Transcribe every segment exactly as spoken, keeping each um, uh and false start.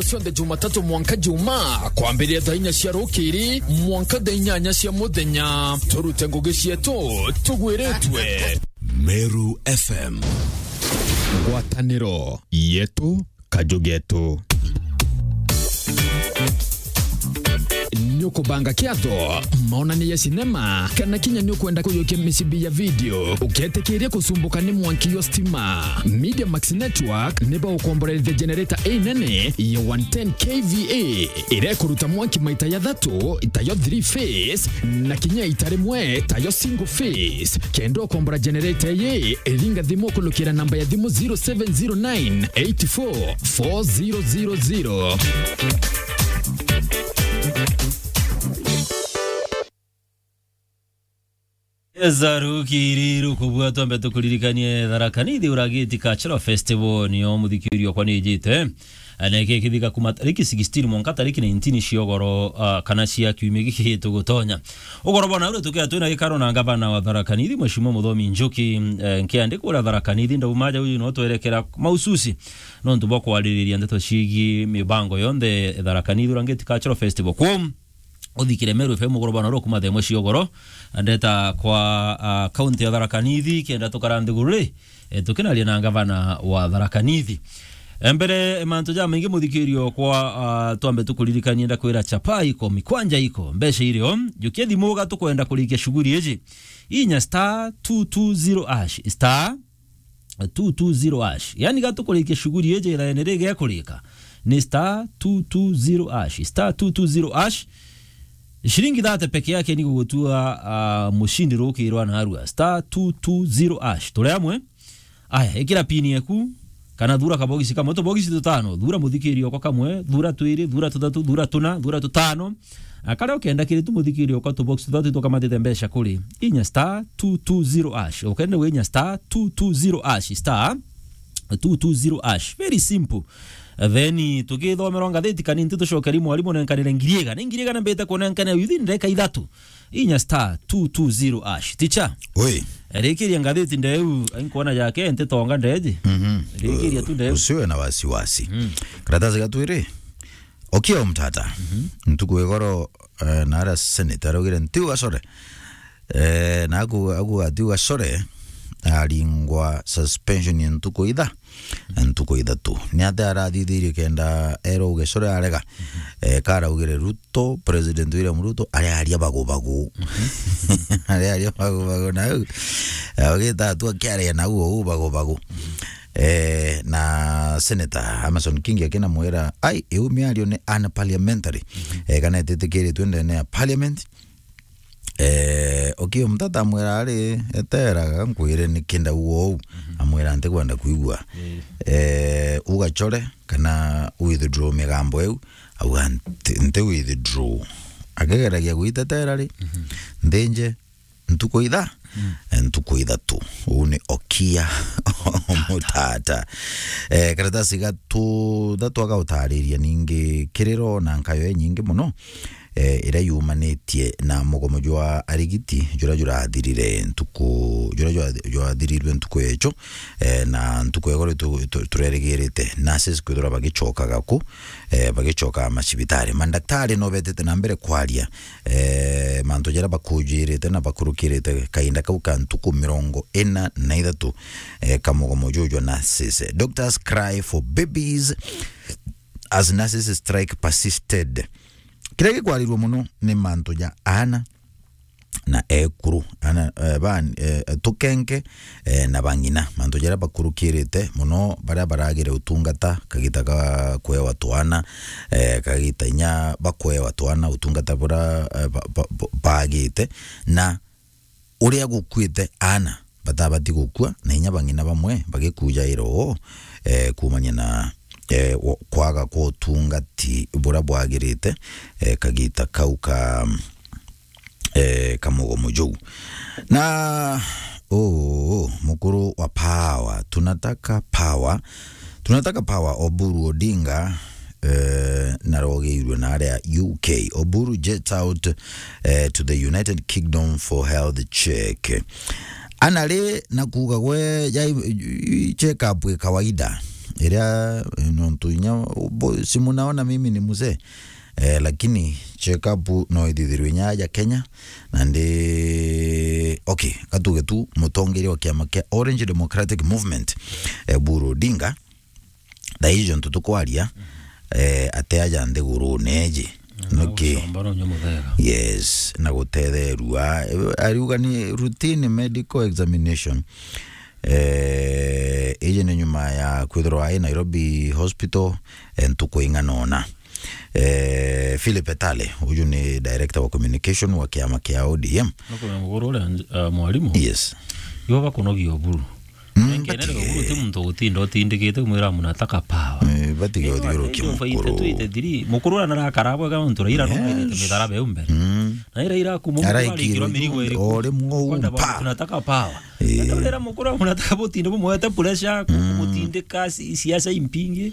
Cionthe Jumatatu mwanka Juma, kwambiria thaa inya cia rukiri mwanka thaa inyanya cia muthenya. Turute ngugi cietu tugwiritwe. Meru F M. Ngwataniro yetu, kaju getu. Ni ukubanga kiatho, maonania ya sinema, kana kinya ni ukwenda kuyukia micibi ya video, uketikiria kucumbuka ni mwanki yo stima? Media Max Network ni bagukomborerithia generator inene ya one ten K V A, iria ikuruta mwanki maita jathatu, tayo three phase, na kinya ita rimwe, tayo single phase. Kenda ukombora generator ii, ringa thimu ukulukira namba ya thimu zero seven zero nine eight four four zero zero zero. Eza rukiri rukubua, twambe tukuririkanie Tharaka Nithi Uragiti Cultural Festival niyo muthikiri okwa nijite. Na iki kithika kuma tariki sixteen mwanka tariki nineteen cia ugoro, ah, kana cia kiumia giki tugutonya. Ugoro bwana uri tukia twina gikaro na ngavana wa Tharaka Nithi, Mheshimiwa Muthomi Njuki, eh, nkiandika uria Tharaka Nithi ndauma ja uyu no twerekera mahususi nontu bwa kwaririria ndeto ciigi mibango yonthe Tharaka Nithi Uragiti Cultural Festival. Kwo uthikire Meru F M ugoro bwana uri kuma thaa imwe cia ugoro, ndeta kwa, ah, kaunti ya Tharaka Nithi, kenda tukara nthiguru ri, eh, tukinaria na ngavana wa Tharaka Nithi. Eh, mbere, eh, mantu jamaingi muthikiri okwa, ah, twambe tukuririkanie, ndakwira chapa iko, mikwanja iko, mbeca irio, jukia thimu uga tukwenda kurikia shughuli iji. Inya star two two zero hash, star two two zero hash. Yani gatukurikia shughuli iji, iraene rigekurika ni star two two zero hash, star two two zero hash. Shilingi thirty peke yake ni gugutua, ah, mushindi rukirwa narua. Star two two zero hash. Turi amwe? Aya, ikira pini eku, kana thura kabogisi kamwe, tubogisi tutano, thura muthikiri okwa kamwe, thura twiri, thura tuthatu, thura tuna, thura tutano. Na karia ukenda kiri tu muthikiri okwa tubox tuthatu tukamatite mbeca kuri inya star two two zero hash. Ukenda gwe inya star two two zero hash, star two two zero hash. Very simple. Then tugithomerwa ngathiti kanini, tucokeri mwarimu nenkanire ngiri igana. Ni ngiri igana mbite kunenkanira within ndagika ithatu. Inya star two two zero hash. Ticha. Oi. Rikiria ngathiti ndeu, inkuona yake ntitonga ndeji. Mhm. Rikiria tu ndeu. Usiwe na wasiwasi. Mm. Karatasi gatwiri. Okia Omtata. Mhm. Ntuku igoro, eh, na ara senator araugire ntiu gacore. Eh, na aku, aku atiu gacore, aringwa suspension ya ntuku itha, ntuku ithatu. Ni atia arathithirie kenda erwa ugacore arega? Mhm. Eh, karaugire Ruto, President William Ruto, arearia bagubagu. Mhm. Arearia bagubagu na au. Augite atu akiaria na au bagubagu. Mhm. Eh, na Senator Amason Kingi akinamwira, "Ai, iu miario ni unparliamentary." Mhm. Eh, kana ititikiritwe ndene ya parliament. Eh, Okiya Omtata amwira, "Ari, eteraga, nkwire niki ndauga uu." Mhm. Amwira, "Ntikwenda kwigua." Eh. Eh, ugacore kana withdraw migambo iu. Auga, "Nti, nti withdraw." Akigeragia gwitetera ri, mhm, nthinje, ntuku itha, mm, eh, ntuku ithatu. Uu ni Okiya Omtata. Eh, karatasi gatu, thatu agautariria ningi kiriro na nkayo inyingi mono, eh, iria yumanitie na mugomo jwa arigiti, juria jurathirire ntuku, juria jwa, jwathirirwe ntuku yecho, eh, na ntuku ya igoro tu, tu, turerigirite nurses kwithirwa bagicokaga ku, eh, bagicoka macibitari. Mandaktari no betete na mbere kwaria eh, mantu jaria bakujirite na bakurukirite kainda kau ka ntuku mirongo ina na ithatu, eh, ka mugomo juju jwa nurses. Doctors cry for babies as nurses strike persisted. Kiria gikwarirua mono ni mantu ja aana na ekuru, aana, eh, ba, eh, tukenke, eh, na bang'ina. Mantu jaria bakurukirite mono, baria baragire utungata kagita ga kwewa twana, eh, kagita inya bakwewa twana utungata buria, eh, ba, ba, ba, bagite, na uria gukuite aana batabati gukua, na inya bang'ina bamwe bagikujaira oo, eh, kuumania na, eh, wo-, kwaga kwa utungati buria bwagirite, eh, kagita kau ka, eh, ka mugomo juu. Na, uu, mukuru wa Power, tunataka power, tunataka power, Oburu Odinga, eh, narogeirwe na aria U K. Oburu jets out, eh, to the United Kingdom for health check. Ana ri na kuuga gwe, jai, check up i kawaida. iria, eh, nontu inya, bo-, si munaona mimi ni mzee. Eh, lakini check up no ithithirwe inya aja Kenya, na ndi, okay, katuge tu mutongeria wa kiama kia Orange Democratic Movement, eh, Oburu Odinga, thaa ijo ntu tukwaria, eh, ate aja nthigurune iji. Mm, nuki? Gucombora unya muthega. Yes, na gutetherua. Eh, ariuga ni routine medical examination. Eh, iji ni nyuma ya kwithirwa ai Nairobi Hospital, eh, ntuku ing'ana ona. Eh, Philip Etale, uju ni director wa communication wa kiama kia O D M. Nukumenya muguru uria, eh, mwarimu? Yes. Ibo bakunogia Oburu. Mm, nkenere batige. Oburu ti muntu ugutinda utindikite kumwira munataka power. Eh, batige uthiurukia mukuru. Mukuru uria narakara bwega nontu Raila, yes, arumite mitharaba iu mbere. Mm. Na ira ira kuma Mukuru araikirwe arikirwa mirigo iriku? O rimwe u, kwenda pa. Tunataka power. Eh. Ndio rira Mukuru munataka butinde bumwete pressure, ku-, mm, kumutindika si-, siasa impingi.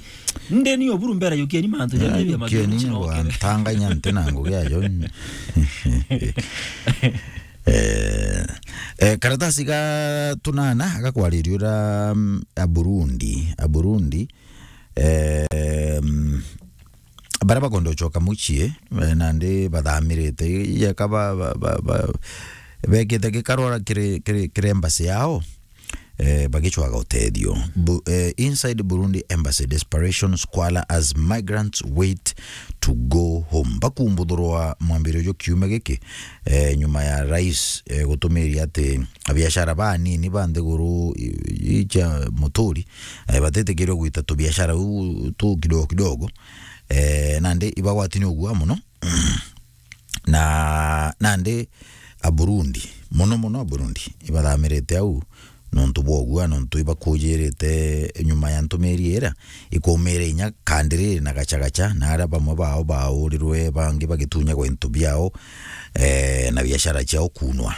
Ndeni Oburu mbere, yukeni mantu jaja bia, yukeni mantu, ngwa ntanga inya nte na ngugi ajo. Eh, eh, karatasi ga tunana agakwariria ura, mm, a Burundi, a Burundi, eh, mm, baria bakwenda gucoka mucii, eh, nandi bathamirite, yeka ba, ba, ba, ba, bekite gikarora kiri, kiri, kiri embassy yao, eh, bagicwaga utethio. Bu-, eh, inside Burundi embassy, desperation squalor as migrants wait to go home. Bakumbuthurwa mwambire uju kiumia giki, eh, nyuma ya rais, eh, gutumiria ati abiashara banini ba nthiguru i-, i-, cia muturi, eh, batitikirwe gwita tubiashara u tu kidogo kidogo, eh, nandi ibagwati ni ugua muno. Na nandi a Burundi, muno muno a Burundi, ibathamirite au nontu bwa ugua, nontu ibakujirite nyuma ya ntumiri iria ikumire inya kandiriri na gachagacha, na aria bamwe bao baurirwe, bangi bagitunyagwa into biao, eh, na biashara ciao kunwa.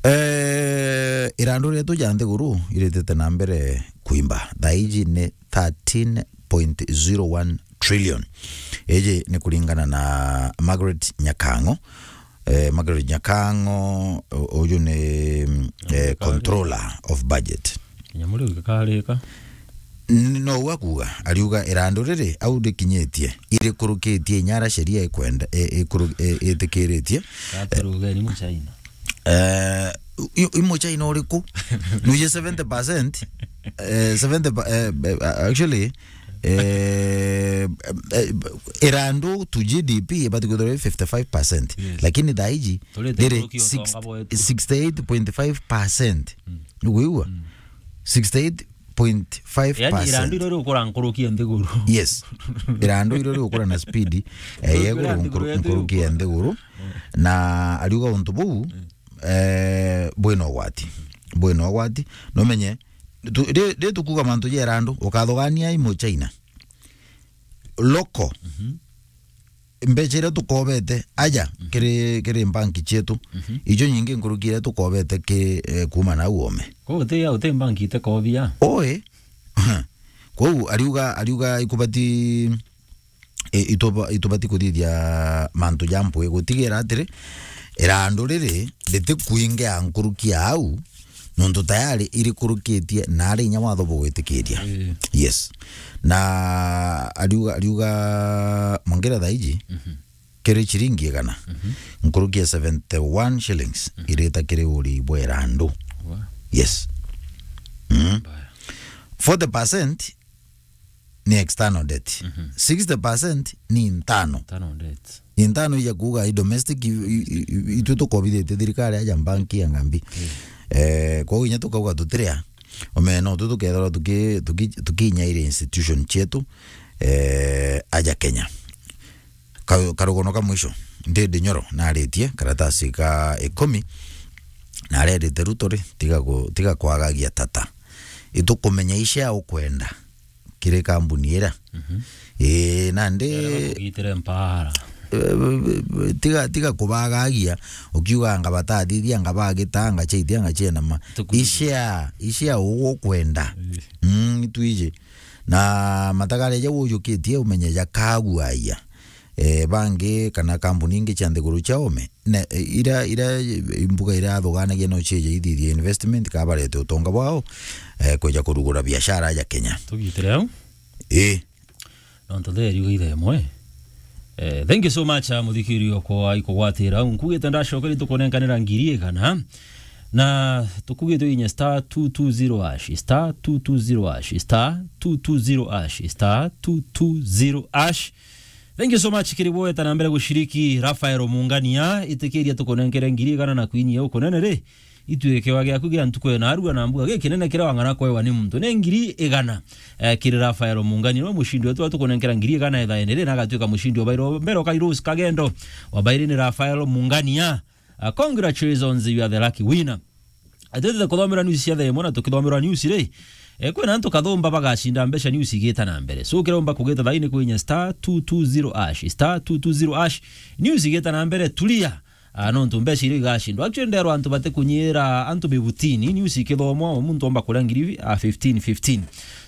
Eh, irandu rietu ja nthiguru iritite na mbere kuimba. Thaa iji ni thirteen point zero one trillion. Iji ni kuringana na Margaret Nyakang'o. Eh, Margaret Nyakang'o, u-, uyu ni, mm, eh, controller of budget. Nyamu riu gikarika. N-, no ua kuuga, ariuga irandu riri au rikinyitie, irikurukitie inya aria sheria ikwenda, i-, ikuru-, i-, itikiritie. Gaturugeni mu China. Eh, i-, i Muchina uriku? Nuje seventy percent, eh, seventy pa-, eh, eh, actually, eh, eh, irandu to G D P ibati kwithirwa fifty-five percent. Yes. Lakini thaa iji riri six-, sixty-eight point five percent. Mm. Niguigua? Mm. Sixty-eight point five percent. Yaani, irandu irio riukura nkuruki ya nthiguru. Yes. Irandu irio riukura na speed, eh, nkuruki ya nthiguru. Na ariuga untu buu, eh, bwina ugwati. Bwina ugwati. Numenye, tu-, ri-, ri tukuga mantu ja irandu, ukathugania i Muchina. Local. Mhm. Mbeca iria tukobete aja kiri, kiri mbanki cietu, ijo nyingi nkuruki iria tukobete ki, eh, kuuma nau ome. Kwou uti ya, uti mbanki itekobia? Oi. Kwou ariuga, ariuga ikubati, i-, ituba-, itubati kuthithia mantu ja mpwi gutigira atiri, irandu riri ritikuingia nkuruki ya au, nontu tayari irikurukitie na ari inya watho bugwitikiria. Ii. Yes. Na ariuga, ariuga Mwangire thaa iji, mhm, kiri chiringi igana, mhm, nkuruki ya seventy-one shillings, mhm, irita kiri uri bwa irandu. Wa. Yes. Mm. Mbaya. Forty percent ni external debt. Mhm. Sixty percent ni internal. Internal debt. Ni internal ija kuuga i domestic, i, i, i, itu tukobithitie thirikari aja mbanki ya ngambi. Mm. Eh, kwou inya tukauga tutiria, omena utu tukethirwa tuki-, tuki-, tukinyaire institution cietu, eh, aja Kenya. Ka-, karugono ka mwisho, Ndindi Nyoro naritie karatasi ka ikumi, na arerite Ruto ri, tiga ku-, tiga kwagagia tata. Itukumenya icia ukwenda kiri kambuni ira. Mhm. Ii, nandi, eh, tiga, tiga kubagagia, ukiuga anga batathithia, anga bagita, anga chaitia, anga chienama. Icia, icia ugukwenda. Ii. Mm, twiji. Na matagare jau ujukitie umenye jakaguaia. eh, bangi kana kambuni ingi cia nthiguru cia ome, na, eh, ira, ira mbuga irathuganagia no cieja ithithia investment, ka barete utonga bwao, eh, kweja kurugura biashara ya Kenya. Tugitire au? Ii. Nontu theri uga ithe imwe. Eh, thank you so much, ah, muthikiri okwa ikugwatira. Nkugite ndacokeri tukunenkanira ngiri igana. Na tukugite inye star two two zero hash, star two two zero hash, star two two zero hash, star two two zero hash. Thank you so much kiri bweta na mbere gushiriki. Rafael Mungania, itikiria tukunenkere ngiri igana na kwinyia ukunene ri. Itwike wa giaku gia ntuku ena arua na mbuga gikinene kiria wang'ana kwewa ni muntu. Ni ngiri igana, eh, kiri Rafael Mungania. Niwe mushindi wetu wa tukunenkera ngiri igana ethaene ri na agatwika mushindi wa bairi. Mbere ukai Rose Kagendo, wa bairi ni Rafael Mungania. Ah, congratulations, you are the lucky winner. Atwitite kuthomera news cia thaa imwe na tukithomerwa news ri, eh, kwina antu kathumba bagacinda mbeca news igita na mbere. So kiromba kugita thaini kwinya star two two zero hash, star two two zero hash. News igita na mbere, tulia. Ah, nontu mbeca iria igacindwa. Actually, nderwa antu batikunyira antu bibutini, news ikithomwa, o muntu omba kuria ngiri, ah, fifteen, fifteen.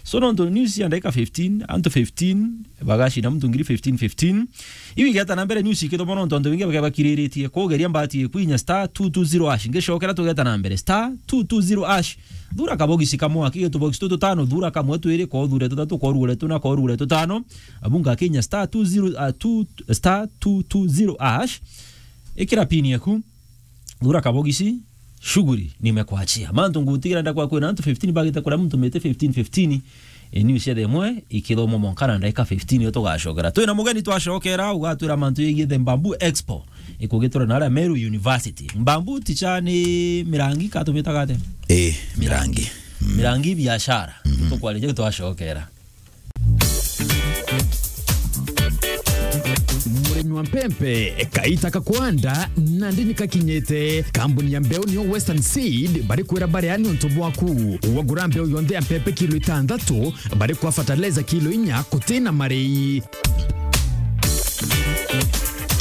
So nontu news ya ndagika fifteen, antu fifteen, bagacinda muntu ngiri fifteen, fifteen. Iu igeta na mbere news ikithomwa nontu antu baingi bakebakiriritie kugeria mbati ikwinya star two two zero hash. Ngicokera tugeta na mbere star two two zero hash. Thura kabogisi kamwe, aki gitu bogisi tututano, thura kamwe twiri, ko thure tutatu, ko rugure tuna, ko rugure tutano. Abunga kinya star two zero, ah, two, star two two zero hash. Ikira pin yaku. Thura kabogisi, shughuli nimekuachia. Mantu ngutigira ndakwa kwina antu fifteen bagite kuria muntu mete fifteen fifteen. E, news ya themwe ikithomwa mwanka na ndagika fifteen yo tugacokera. Twina mugeni twacokera, ugatwira mantu yegie the Mbambu Expo. Ikugitura na aria Meru University. Mbambu ticha ni mirangi ka tumitaga atia? Eh, mirangi. Mm. Mirangi biashara. Mhm. Tukwariria twacokera. Murimi wa mpempe, kaita ka kwanda nandi ni kakinyite. Kambuni ya mbeu niyo Western Seed bari kwira baria ni untu bwaku. Wagura mbeu yonthe ya mpempe kilo itantatu, bari kwa fertilizer kilo inya kutina marei.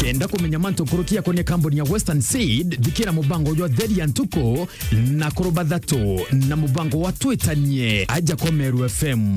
Kenda kumenya mantu nkuruki yakonia kambuni ya Western Seed, thikira mubango jwa Theri ya Ntuku na Kuruba Thatu na mubango wa Twitanie aja kwa Meru F M.